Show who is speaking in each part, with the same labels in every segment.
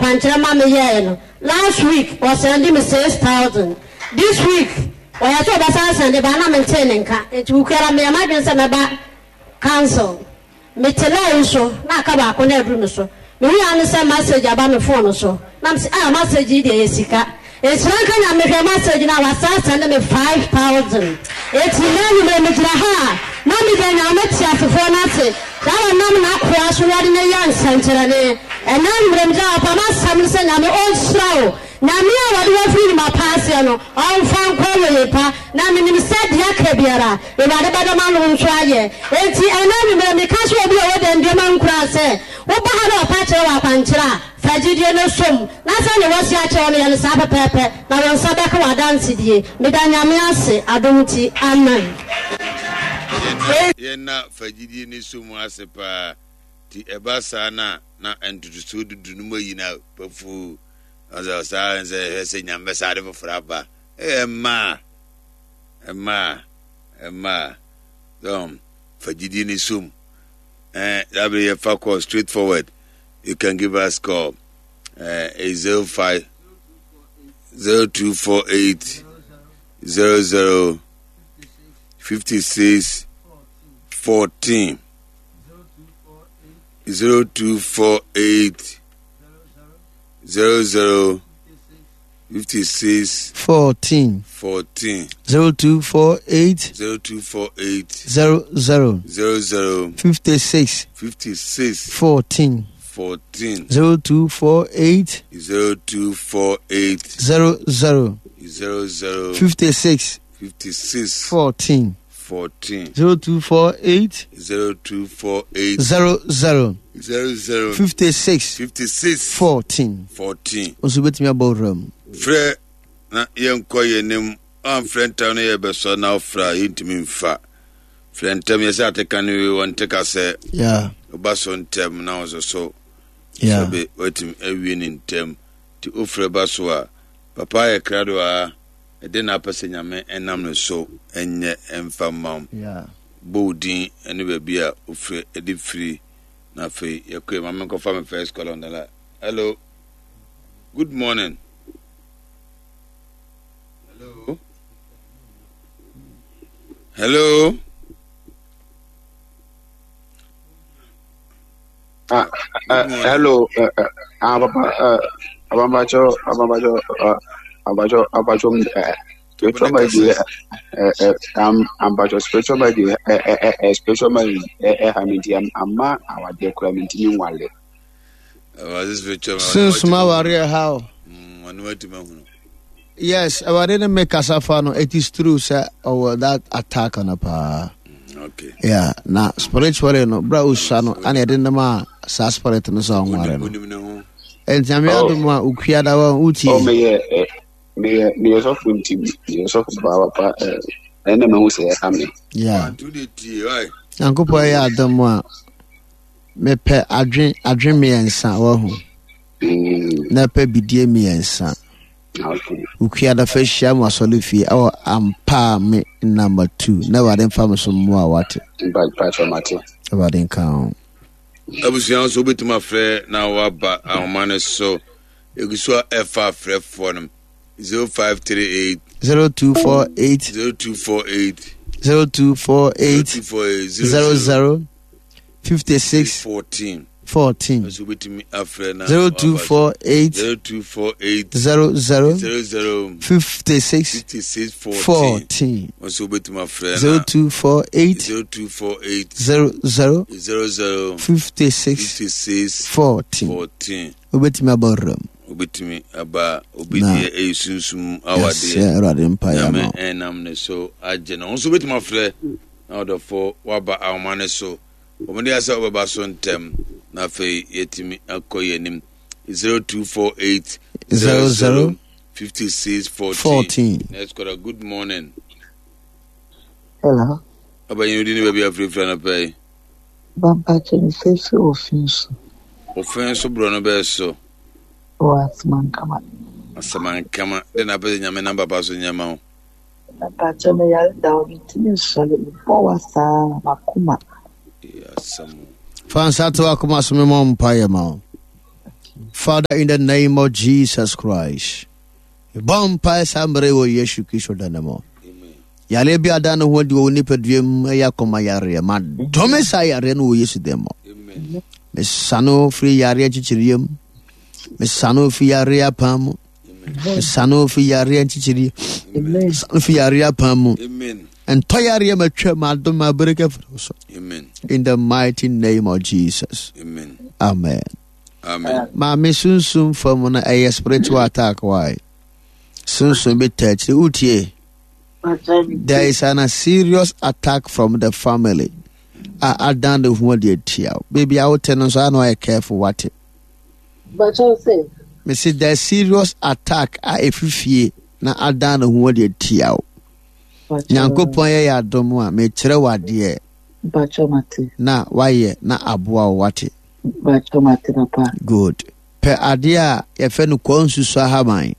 Speaker 1: akwankyerɛ ma me yɛɛ no last week ɔsɛnde me 6,000 this week ɔyɛ sɛ ɔbɛsan sɛnde ba na mentee ne nka nti wukuara meyɛ m'adwene sɛ mɛba council. Mete line so na aka baako na aduru me so. Mehui ara ne sɛ message aba me phone so. Na mese ah message yi deɛ ɛyɛ sika. Nhyira nka Nyame mehwɛɛ message no a wasan asɛnde me 5000. Enti nnɛ anwummerɛ megyina ha a na meda Nyame teasefoɔ no ase sɛ ɔnam n'akoa so wɔde no yɛ nsɛnkyerɛnne. Ɛnnɛ anwummerɛ megyina ha paa m'asɛm ne sɛ Nyame ɔnhyira wo. Nyame a wɔde wo afiri nnwuma pa aseɛ no ɔmfa nkɔ awieɛ pa. Na menim sɛ deɛ aka biara Awurade bɛda m'ano nso ayɛ. Enti ɛnnɛ anwummerɛ meka kyerɛ obi a ɔwɔ dɛndua ma nkuran sɛ, woba ha na wɔpa kyerɛ wo akwankyerɛ a, fa gyidie no som, na sɛdeɛ wɔasi akyerɛ wo no yɛ no saa pɛpɛɛpɛ, na wo nsa bɛka w'adansedie. Meda Nyame ase, adom nti. Amen.
Speaker 2: Yɛnna fa gyidie no som ase paa. Nti ɛba saa no a, na ntotosoɔ dudu no mu ayi no pafuu. Saa sɛ hwɛ sɛ Nyame bɛsa ade foforɔ aba. Ɛmmaa. Mmaa, mmaa, um, fa gyidie ne som. Eh, that be yɛfa call straight forward. You can give us call. Eh, 05 0248 00 56 14 0248 00 56
Speaker 3: 14
Speaker 2: 14
Speaker 3: 0248
Speaker 2: 0248
Speaker 3: 00
Speaker 2: 00
Speaker 3: 56
Speaker 2: 56
Speaker 3: 14
Speaker 2: 14
Speaker 3: 0248
Speaker 2: 0248
Speaker 3: 00
Speaker 2: 00
Speaker 3: 56
Speaker 2: 56
Speaker 3: 14
Speaker 2: 14
Speaker 3: 0248
Speaker 2: 0248
Speaker 3: 00
Speaker 2: 00
Speaker 3: 56
Speaker 2: 56
Speaker 3: 14
Speaker 2: 14.
Speaker 3: Nso bɛtumi abɔ wura mu.
Speaker 2: Frɛ na yɛnkɔ yɛn anim. Amfrɛ ntɛm no yɛbɛsɔ na wofrɛ a yɛntumi mfa. Frɛ ntɛm yɛsɛ ateka no wie wɔnte ka sɛ woba so ntɛm na wo nso so sɛbe woatumi awie ne ntɛm. Nti wofrɛ ba so a papa ayɛ krado a ɛde na apɛ sɛ Nyame ɛnam ne so ɛnyɛ ɛmfa mma wo. Bɔ wo din ne baabi a wofrɛ de firi na afei yɛkɔ yɛ ma menkɔfa me first call on the line. Hello. Good morning. Hello. Hello.
Speaker 4: Ah, hello. Papa, ababacho, ababacho, ababacho, ababacho, spiritual marriage, ababacho, spiritual marriage, spiritual marriage, ha me nti, ama awadeɛ koraa me ntumi nwale.
Speaker 3: Sunsum awareɛ ha o. Yes, awurade ne me kasa fa no, it is true sɛ ɔwɔ that attack no paa.
Speaker 2: Okay.
Speaker 3: Yeah, na spiritually no, bra osua no, ana yɛde nam a saa spirit no sɛ ɔnware no. Ɛnti ame
Speaker 4: Oh.
Speaker 3: adom a okua da wa wotie.
Speaker 4: Oh, meyɛ eh, meyɛ meyɛ sɔfo nti meyɛ sɔfo paa papa eh, ɛna mahu sɛ ɛha me.
Speaker 3: Yeah.
Speaker 2: Nti wode tie, ɔe.
Speaker 3: Nyankopɔn yɛ adom a mepɛ adwen adwen mmiɛnsa wahu. Na pɛ bidie mmiɛnsa.
Speaker 4: Okay.
Speaker 3: Wokua da fa hyia mu asɔre fie ɛwɔ ampaa me number 2 na Awurade mfa me so mmoa wate.
Speaker 4: Mpakyɛ mate.
Speaker 3: Awurade nka ho.
Speaker 2: Abusua nso wobɛtumi afrɛ na waba ahoma no so. Ɛgu so a ɛfa afrɛfoɔ no 0538
Speaker 3: 0248
Speaker 2: 0248
Speaker 3: 0248
Speaker 2: 0248
Speaker 3: 00 56
Speaker 2: 14
Speaker 3: 14
Speaker 2: nso wobɛtumi afrɛ na
Speaker 3: 0248
Speaker 2: 0248
Speaker 3: 00
Speaker 2: 00
Speaker 3: 56
Speaker 2: 56 14
Speaker 3: 14
Speaker 2: nso wobɛtumi afrɛ na
Speaker 3: 0248
Speaker 2: 0248
Speaker 3: 00
Speaker 2: 00
Speaker 3: 56
Speaker 2: 56
Speaker 3: 14
Speaker 2: 14
Speaker 3: wobɛtumi abɔ wuram
Speaker 2: wobɛtumi aba obi
Speaker 3: Na-
Speaker 2: deɛ ɛyɛ sunsum
Speaker 3: yɛsɛ
Speaker 2: awadeɛ
Speaker 3: Awurade mpaeɛ ama
Speaker 2: Nyame
Speaker 3: wo.
Speaker 2: ɛnam ne so agye no wo nso wobɛtumi afrɛ na ɔdɔfo woaba ahoma no so wɔmde asɛ wobɛba so ntɛm na afei yɛtumi akɔ yɛn anim 0248
Speaker 3: 00
Speaker 2: 56 14
Speaker 3: 14.
Speaker 2: Next caller, good morning.
Speaker 5: Hello.
Speaker 2: Ɔbɛnyin odi ne baabi afirafira no pɛi.
Speaker 5: Bampakyɛ me fɛ fi ofin so.
Speaker 2: Ofin so borɔ no bɛɛ so.
Speaker 5: Wɔ Asamankama.
Speaker 2: Asamankama. De na apɛ sɛ Nyame nam papa so nyɛ ma wo.
Speaker 5: Bampakyɛ me yare da hɔ mentumi nsɔre mebɔ wa saa makoma.
Speaker 2: Asɛm.
Speaker 3: Fa nsa to akoma so memmɔ mpaeɛ ma wo. Father, in the name of Jesus Christ, bɔ mpae saa mmerɛ wɔ Yesu Kristo da no mu. Yareɛ bi ada ne ho adi wɔ wo nipadua mu ɛyɛ akoma yareɛ. Ma dome saa yareɛ no wɔ Yesu din mu. Mesane wo firi yareɛ nkyekyereɛ mu. Mesane wo firi yareɛ apam mu. Mesane wo firi yareɛ nkyekyereɛ. Mesane wo firi yareɛ apam mu. Ntɔ yareɛ matwa ma adom ma bereka firi wo so. In the mighty name of Jesus.
Speaker 2: Amen.
Speaker 3: Amen.
Speaker 2: Amen.
Speaker 3: Maame sunsum fam no ɛyɛ spiritual attack why? Sunsum bi ta akyiri wotie. There is an, a serious attack from the family. A adan ne ho adi atia wo. Baby a wote no nso ano ayɛ careful wate. Mese there serious attack a ɛfiri fie na adan ne ho adi atia wo. Nyankopɔn yɛ yɛ adom a mekyerɛ wo adeɛ na wayɛ na aboa wo wate. Good. Pɛ adeɛ a yɛfɛ no kɔɔ nsusu ahaban.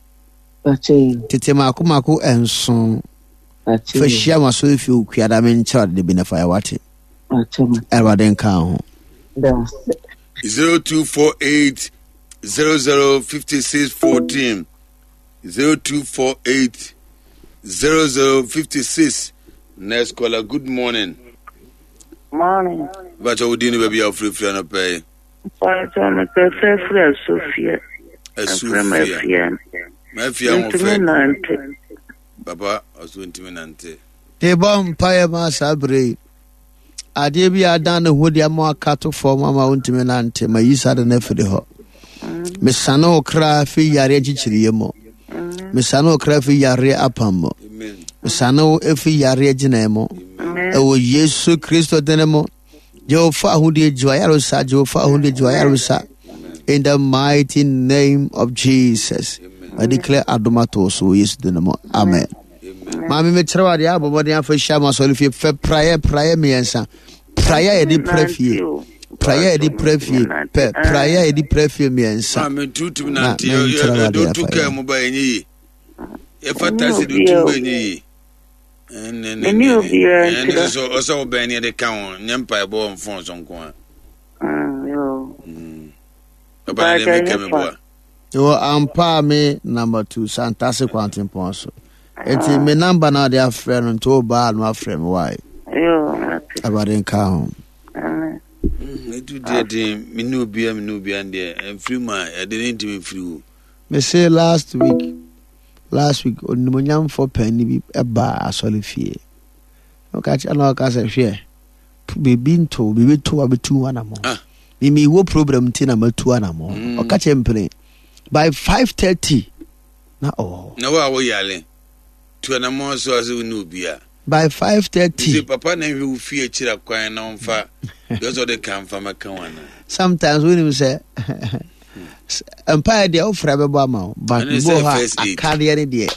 Speaker 3: Tete mako mako nson. Fa hyia ma so efi okuada me nkyerɛ ade bi na fa yɛ wate. Awurade nka ho.
Speaker 2: 0248 00 56 14 0248 00 56 Next caller, good morning.
Speaker 6: Morning.
Speaker 2: Bàtà wo din ni baabi a wofirifiri anɔpɛ yi.
Speaker 6: Bàtà mepɛ sɛ firi Asufie.
Speaker 2: Asufie. Mafia ho fɛ.
Speaker 6: Ntumi nante.
Speaker 2: Papa ɔso ntumi nante.
Speaker 3: Mebɔ mpaeɛ ma saa berɛ yi. Adeɛ bi a adan ne ho de ama aka to fam ama wontumi nante ma yi saa de no afiri hɔ. Mesane wo kra fi yareɛ nkyekyereɛ mu. Mesane wo kra fi yareɛ apam mu. Mesane wo fi yareɛ gyinae mu. Ɛwɔ Yesu Kristo dene mu. Jehovah ahodie gye w'ayaresa. Jehovah ahodie gye w'ayaresa. In the mighty name of Jesus. I declare adom ato so wɔ Yesu din mu. Amen. Maame mekyerɛ wo adeɛ abɔ mmɔden afa hyia ma asɔre fie fɛ praeɛ praeɛ mmiɛnsa praeɛ a yɛde pra fie praeɛ a yɛde pra fie pɛ praeɛ a yɛde pra fie mmiɛnsa
Speaker 2: maame tutum nante yɛde wotu kaa mu ba ɛnyɛ yie yɛfa taxi de wotum ba ɛnyɛ yie
Speaker 6: Mene obiara
Speaker 2: nti da. Ɛne ɔsɛ wobɛn ne yɛde ka ho nyɛ mpaebɔ wɔ mfon so nko a. Papa na deɛ meka meboa.
Speaker 3: Ɛwɔ ampa a me number two Santase kwantempɔn so. Nti me number na ɔde afrɛ no nti wobaa no afrɛ me wae. Awurade nka ho.
Speaker 2: Ɛtu deɛ den mene obiara mene obiara deɛ ɛmfiri mu a ɛde ne ntumi mfiri wo.
Speaker 3: Mese last week Last week, onimuonyamfoɔ panin bi baa asɔre fie. Ɔka kyerɛ na ɔka sɛ hwɛ, biribi nto, biribi to a bɛtu anamɔ. Ah. Mimi wɔ program nti na matu anamɔ. Mm. Ɔka kyerɛ mpene by 5:30 na ɔwɔ hɔ.
Speaker 2: Na wo a woyare tu anamɔ so ase wo ne obi a.
Speaker 3: By 5:30.
Speaker 2: Nti papa na nhwɛ wo fie akyira kwan na ɔmfa deɛ ɔsɛ ɔde ka mfa mɛka wo ana.
Speaker 3: Sometimes wonim sɛ mpaeɛ deɛ wofrɛ bɛbɔ ama wo but bi wɔ hɔ a akadeɛ no deɛ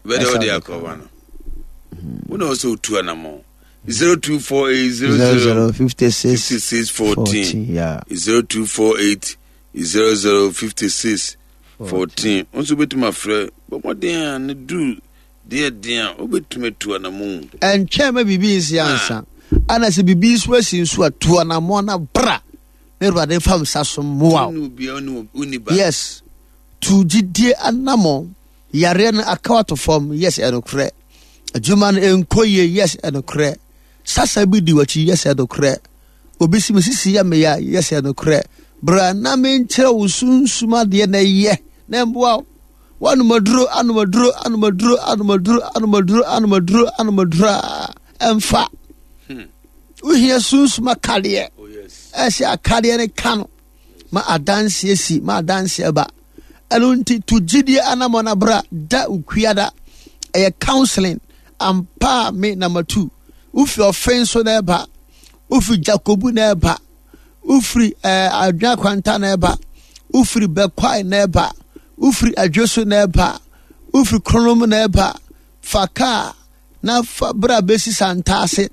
Speaker 2: bɛdɛ wode akɔba no wo na ɔsɛ wotu anammɔ 0248 00 56 14 0248 00 56 14 wo nso wobɛtumi afrɛ bɔmmɔden a ne duru deɛ den a wobɛtumi atu anammɔ
Speaker 3: ɛntwɛn ma biribi nsi ansa ana sɛ biribi nso asi nso a tu anammɔ na bra na awurade mfa nsa so mmoa
Speaker 2: wo
Speaker 3: yes tu gyidie anammɔn yareɛ no aka wato fam yes ɛnokorɛ adwuma no ɛnkɔ yie yes ɛnokorɛ sasa bi di w'akyi yes ɛnokorɛ obi si me sisi yɛ meya yes ɛnokorɛ bra na menkyerɛ wo sunsum adeɛ na ɛyɛ na ɛmboa wo wanomaduro anomaduro anomaduro anomaduro anomaduro anomaduro anomaduro a ɛmfa hmm. Wohia sunsum akadeɛ. Oh, Ɛsɛ akadeɛ no ka no ma adanseɛ si ma adanseɛ ba. Ɛno nti to gyidie anammɔn na bra da okuada. Ɛyɛ counseling ampa a me na matu. Wofi ɔfen so na ɛba. Wofi Jakobu na ɛba. Wofiri ɛɛ eh, adwene akwanta na ɛba. Wofiri bɛkwae na ɛba. Wofiri adwo so na ɛba. Wofiri kronom na ɛba. Fa kaa na fa bra bɛsi Santase.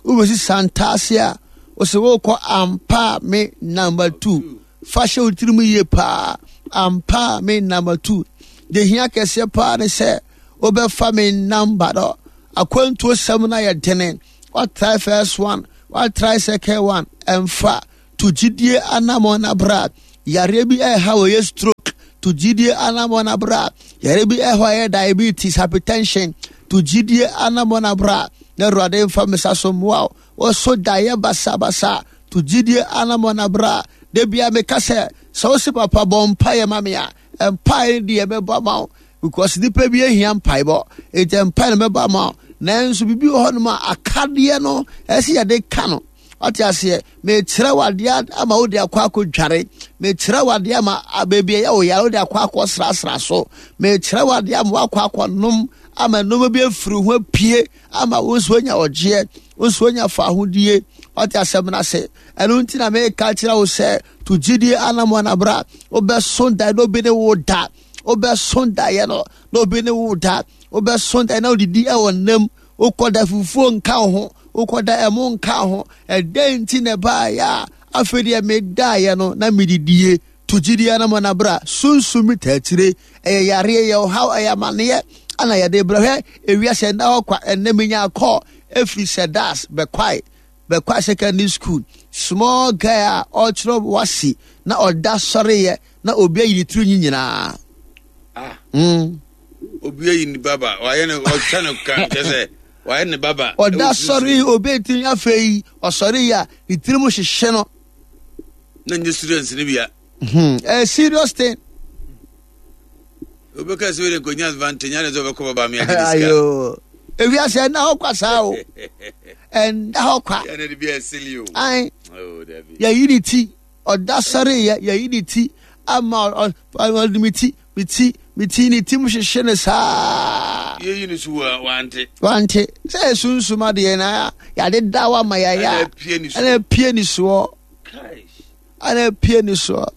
Speaker 3: Wobɛsi Santase a, wosɛ wokɔ ampa me number two. Fa hyɛ wo tirim yie paa. Ampa me number two. Deɛ hia kɛseɛ paa ne sɛ wobɛfa me number no. Akwantuo sɛm no ayɛ dene. Watry first one, watry second one, ɛmfa. To gyidie anammɔn na bra. Yareɛ bi ɛha wɔ yɛ stroke to gyidie anamɔ na bra. Yareɛ bi ɛhɔ yɛ diabetes, hypertension to gyidie anamɔ na bra. Na Awurade mfa me sa so mmoa wo. Wɔso daeɛ basabasa to gyidie anamɔ na bra. Da bia meka sɛ sɛ wo se papa bɔ mpaeɛ ma me a, mpaeɛ no deɛ mɛbɔ ama wo because nipa bi ahia mpaebɔ nti mpaeɛ no mɛbɔ ama wo. Nanso biribi wɔ hɔnom a akadeɛ no ɛsɛ yɛde ka no. Wate aseɛ? Mekyerɛ wo adeɛ ama wode akɔ akɔdware. Mekyerɛ wo adeɛ ama baabi ɛyɛ wo yare wode akɔ akɔsrasra so. Mekyerɛ wo adeɛ ama woakɔ akɔnom ama nneɛma bi afiri ho apue ama wo nso anya ɔgyeɛ, wo nso anya fahodie. Wate asɛm no ase? Ɛno nti na meka kyerɛ wo sɛ to gyidie anammɔn na bra. Wobɛso daeɛ na obi ne wo da. Wobɛso daeɛ no na obi ne wo da. Wobɛso daeɛ na wodidi ɛwɔ nnam. Wokɔda fufuo nka wo ho, wokɔda ɛmo nka wo ho. Ɛdɛn nti na ɛbaeɛ a afei deɛ medaeɛ no na medidie? To gyidie anamɔ na bra. Sunsum bi taa akyire. Ɛyɛ yareɛ, ɛyɛ ɔhaw, ɛyɛ amaneɛ ana yɛde brɛ. Hwɛ ewiase ɛnna hɔ kwa. Ɛnnɛ menya kɔɔ ɛfiri Sɛdas bɛkwae bɛkwae secondary school. Small girl a ɔkyerɛ wasi na ɔda sɔreyɛ na obi ayi ne tiri nyi nyinaa.
Speaker 2: Ah. Obi ayi ne baba, wayɛ no ɔtwa no ka kyɛ sɛ wayɛ ne baba.
Speaker 3: Ɔda sɔre obi tiri afei ɔsɔre yi a ne tiri mu hyehye no.
Speaker 2: Na nye students ne bia.
Speaker 3: A serious thing.
Speaker 2: Obi ka sɛ wode nkonya advantage ane sɛ ɔbɛkɔ baba me agye ne sika.
Speaker 3: Ayo. Ewiase ɛnna hɔ kwa saa o. Ɛnna hɔ kwa.
Speaker 2: Yɛne de bi ɛsili o.
Speaker 3: Ayi.
Speaker 2: Oh, Dabi.
Speaker 3: Yɛyi ne ti. Ɔda sɔre yɛ yɛyi ne ti ama ɔde me ti me ti me ti ne ti mu hyehye ne saa.
Speaker 2: Yɛyi ne so wa wante.
Speaker 3: Wante sɛ esunsum adeɛ na yɛade da wa ma yɛayɛ ɛna apue ne soɔ ɛna apue ne soɔ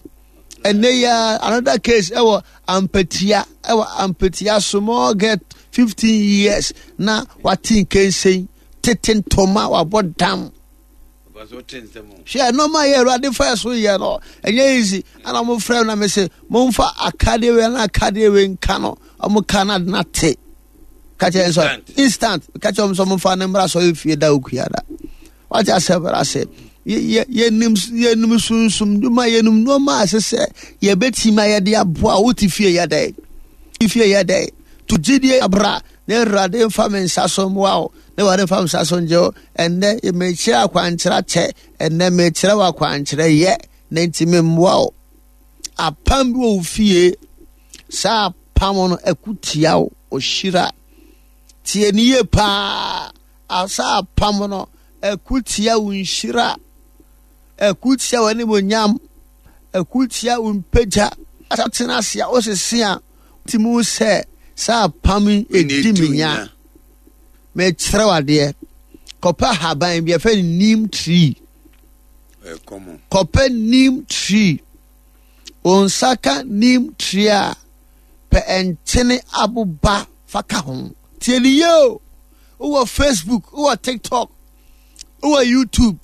Speaker 3: ɛnɛ yi another case ɛwɔ ampatia ɛwɔ ampatia small girl 15 years na wate nkensen tete ntoma wabɔ dam. Hwɛ nneɛma a yɛ Awurade fa so yɛ no ɛnyɛ easy ɛna wɔn frɛ na me se momfa akadeɛ wei na akadeɛ wei nka no wɔn ka na na te ka kyerɛ nso instant ka kyerɛ wɔn sɛ wɔn fa ne mmra sɔ efie da okua da wate asɛ bra sɛ yɛnim yɛnim sunsum dwuma yɛnim nneɛma a ɛsɛ sɛ yɛbɛtumi a yɛde aboa wote fie yɛ dɛ fie yɛ dɛ to gyidie abra Na Awurade mfa me nsa so mmoa wo, na Awurade mfa me nsa so ngye wo. Ɛnnɛ, mekyerɛ akwankyerɛ akyɛ, ɛnnɛ mekyerɛ wo akwankyerɛ yɛ, na nti memmoa wo. Apam bi wɔ wo fie, saa apam no ɛko tia wo, ɔhyira. Tie ne yie paa, saa apam no ɛko tia wo nhyira, ɛko tia w'animuonyam, ɛko tia wo mpagya. Tena ase a wosese a Ti mu sɛ saa apam yi edi me nya. Mekyerɛ wo adeɛ. Kɔpɛ ahaban bi yɛfrɛ no neem tree. Kɔpɛ neem tree. Wo nsa ka neem tree a, pɛ nkyene aboba fa ka ho. Tie ne yie o. Wowɔ Facebook, wowɔ TikTok, wowɔ YouTube.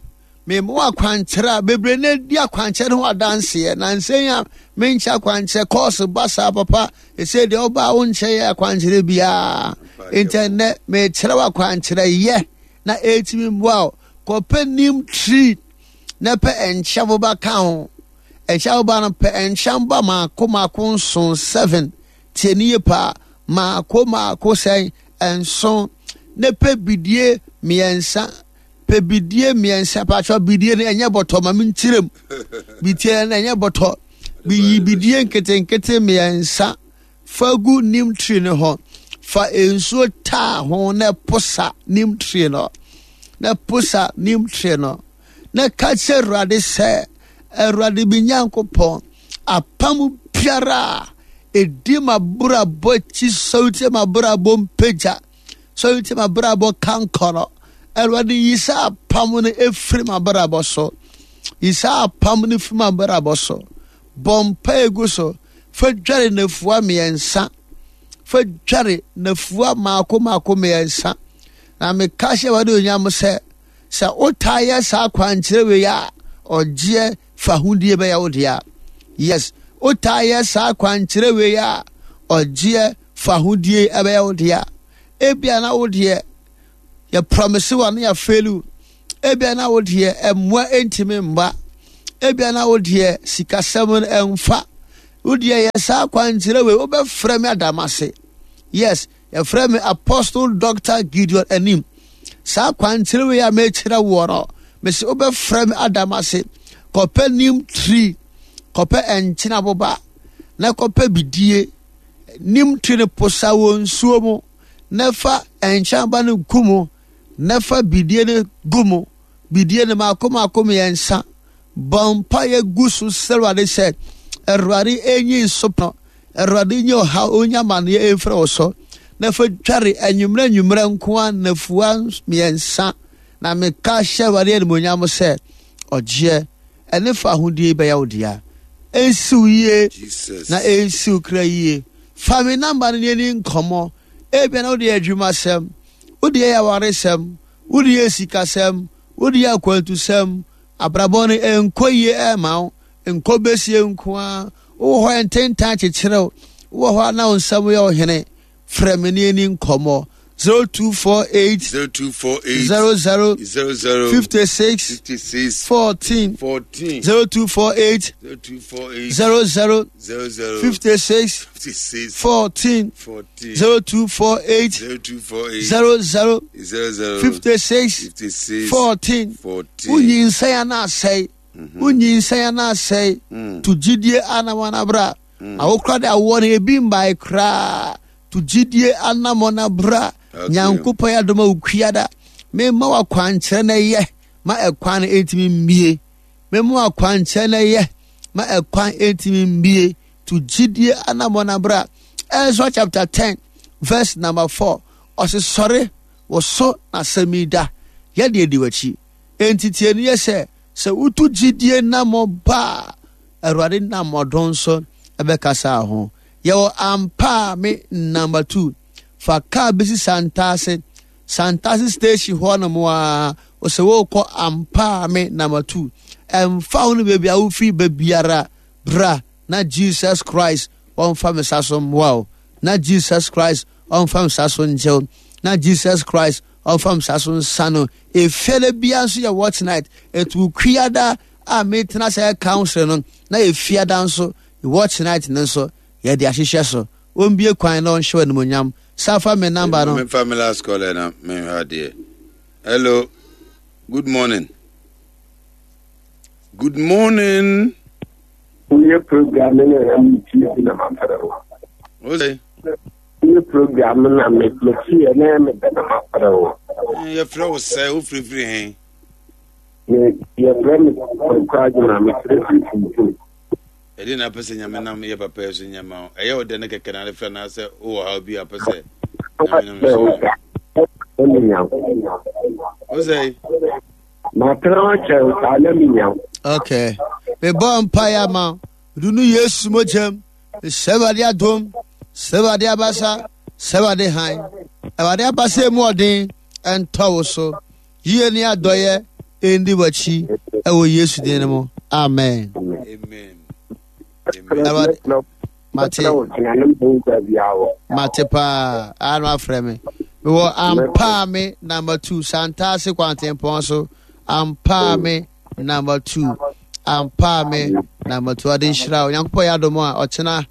Speaker 3: Mema wo akwankyerɛ a bebree na edi akwankyerɛ no ho adanseɛ. Nansa yi a menkyɛ akwankyerɛ kɔɔso ba saa papa ɛsɛ deɛ ɔba a wonkyɛ yɛ akwankyerɛ biara. Nti ɛnnɛ mekyerɛ wo akwankyerɛ yɛ na ɛtumi mmoa wo. Kɔpɛ neem tree na pɛ nkyɛ boba ka ho. Nkyɛ boba no pɛ nkyɛ boba maako maako nson seven. Tie ne yie paa. Maako maako sɛn nson na pɛ bidie mmiɛnsa Pɛ bidie mmiɛnsa paatwa bidie no ɛnyɛ bɔtɔ ma menkyerɛ mu bidie no ɛnyɛ bɔtɔ biyi bidie nketenkete mmiɛnsa fa gu nim tree no hɔ fa nsuo taa ho na posa nim tree no na posa nim tree no na ka kyerɛ awurade sɛ awurade bi nyankopɔn apam biara a ɛdi m'abrabɔ akyi sɔretie m'abrabɔ mpagya Sɔre ti m'abrabɔ kankɔrɔ. Awurade yi saa apam no efiri m'abrabɔ so. Yi saa apam no firi m'abrabɔ so. Bɔ mpae gu so. Fa dware nafua mmiɛnsa. Fa dware nafua mmaako mmaako mmiɛnsa. Na meka hyɛ Awurade onyam sɛ sɛ wotaa yɛ saa kwankyerɛ wei a ɔgyeɛ fahodie bɛyɛ wo dea. Yes, wotaa yɛ saa kwankyerɛ wei a ɔgyeɛ fahodie ɛbɛyɛ wo dea. Ebia na wo deɛ yɛ promise wa na yɛafeli wo. Ebia na wo deɛ mmoa ntumi mma. Ebia na wo deɛ sikasɛm no ɛmfa. Wo deɛ yɛ saa kwankyerɛ wei wobɛfrɛ me adamase. Yes, yɛfrɛ me Apostle Dr. Gideon Anim. Saa kwankyerɛ wei a mekyerɛ woɔ no, mese wobɛfrɛ me adamase. Kɔpɛ nim tree, kɔpɛ nkyene aboba, na kɔpɛ bidie. Nim tree no posa wɔ nsuo mu, na fa nkyene aboba no gu mu, na fa bidie no gu mu. Bidie no mako mako mmiɛnsa. Bɔ mpaeɛ gu so srɛ Awurade sɛ, Awurade ɛnyi nsopɔ, Awurade nyi ɔhaw, ɔnyi amaneɛ ɛmfiri wo so. Na fa dware anwummerɛ anwummerɛ nko ara nnafua mmiɛnsa. Na meka hyɛ Awurade animuonyam sɛ, ɔgyeɛ ɛne fahodie bɛyɛ wo dea. Ɛnsi wo yie na ɛnsi wo kra yie. Fa me namba no ne yɛni nkɔmmɔ. Ebia na wode yɛ adwumasɛm, wode yɛ awaresɛm, Wode yɛ sikasɛm, wode yɛ akwantusɛm, abrabɔ no ɛnkɔ yie ɛmma wo, nkɔ bɛsie nko ara. Wowɔ hɔ a ntentan kyekyere wo, wowɔ hɔ a na wo nsɛm yɛ ɔhene. Frɛ me ne yɛni nkɔmmɔ. 0248
Speaker 2: 0248
Speaker 3: 00
Speaker 2: 00
Speaker 3: 56
Speaker 2: 56
Speaker 3: 14
Speaker 2: 14
Speaker 3: 0248
Speaker 2: 0248
Speaker 3: 00
Speaker 2: 00
Speaker 3: 56
Speaker 2: 56
Speaker 3: 14
Speaker 2: 14
Speaker 3: 0248
Speaker 2: 0248
Speaker 3: 00
Speaker 2: 00
Speaker 3: 56
Speaker 2: 56
Speaker 3: 14
Speaker 2: 14
Speaker 3: wonyinsɛn ana asɛe wonyinsɛn ana asɛe to gyidie anamɔn abra awokora de awoɔ no ebi mbae koraa to gyidie anamɔn abra
Speaker 2: Okay.
Speaker 3: nyankopɔn yɛ adom a wokuada memma wakwankyerɛ no ɛyɛ ma ɛkwan no ɛntumi mmie memma wakwankyerɛ no ɛyɛ ma ɛkwan ɛntumi mmie to gyidie anamɔn abra Ezra chapter 10 verse number 4 ɔse sɔre wo so na asɛm yi da yɛde adi w'akyi enti tie no yɛ sɛ sɛ wotu gyidie namɔ ba a awurade nam ɔdɔn so ɛbɛkasa ho yɛwɔ ampa me number 2 fa kaa bɛsi santase santase station hɔ nom a ɔsɛ wokɔ ampa me number 2 ɛmfa wo no baabi a wofiri baabiara bra na Jesus Christ ɔmfa me sa so mmoa wo na Jesus Christ ɔmfa me sa so ngye wo na Jesus Christ ɔmfa me sa so nsa no efiada bia nso yɛ watch night etu kuada a metena sɛ council no na efiada nso watch night no nso yɛde ahyehyɛ so ombie kwan na ɔnhyɛ animonyam safa me number no
Speaker 2: memfa me last caller na menhwɛ adeɛ hello good morning good morning
Speaker 7: Woyɛ program no na metie bi na mafrɛ wo.
Speaker 2: Wose?
Speaker 7: Woyɛ program no na metie na mebɛ na mafrɛ wo.
Speaker 2: Yɛfrɛ wo sɛ wofirifiri he?
Speaker 7: Yɛfrɛ me Kwaku Adwuma, mefrɛ firi Funtum.
Speaker 2: Ɛdeɛ na apɛ sɛ Nyame nam yɛ papa yi so nyɛ ma wo? Ɛyɛ wo dɛ ne kɛkɛ na ade frɛ anaasɛ wowɔ haw bi a apɛ sɛ Nyame nam so yɛ? Wose?
Speaker 7: Matena hɔ kyɛn saa na menya wo.
Speaker 3: Okay. Mebɔ mpaeɛ ama wo. Mede no Yesu mogyam. Mesrɛ Awurade adom. Srɛ Awurade abasa. Srɛ Awurade hann. Awurade abasa emu ɔden ɛntɔ wo so. Yie ne adɔeɛ ɛndi w'akyi ɛwɔ Yesu din no mu. Amen.
Speaker 2: Amen.
Speaker 3: Awurade mate mate paa a na wafrɛ me mewɔ ampaa me number two santaase kwantempɔn so ampaa me number two ampaa me number two ɔde nhyira o nyankopɔn yɛ adom a ɔkyena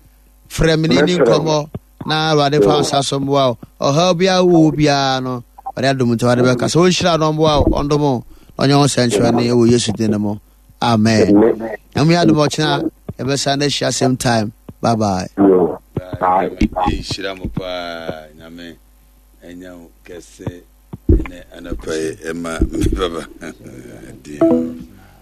Speaker 3: frɛ me ne ni nkɔmmɔ na awurade fa nsa so mmoa o ɔhaw biara wowɔ biara no ɔde adom nti ɔde bɛka sɛ ɔnhyira no ɔmmoa o ɔndom o na ɔnyɛ ho sɛnkyerɛnne wɔ yesu din no mu Amen. Nyame yɛ adom ɔkyena yɛbɛsan no ahyia same time. Bye bye.
Speaker 2: Bye. Nhyira mo paa Nyame ɛnya wo kɛse ɛnɛ anɔpa yi ɛma me baba.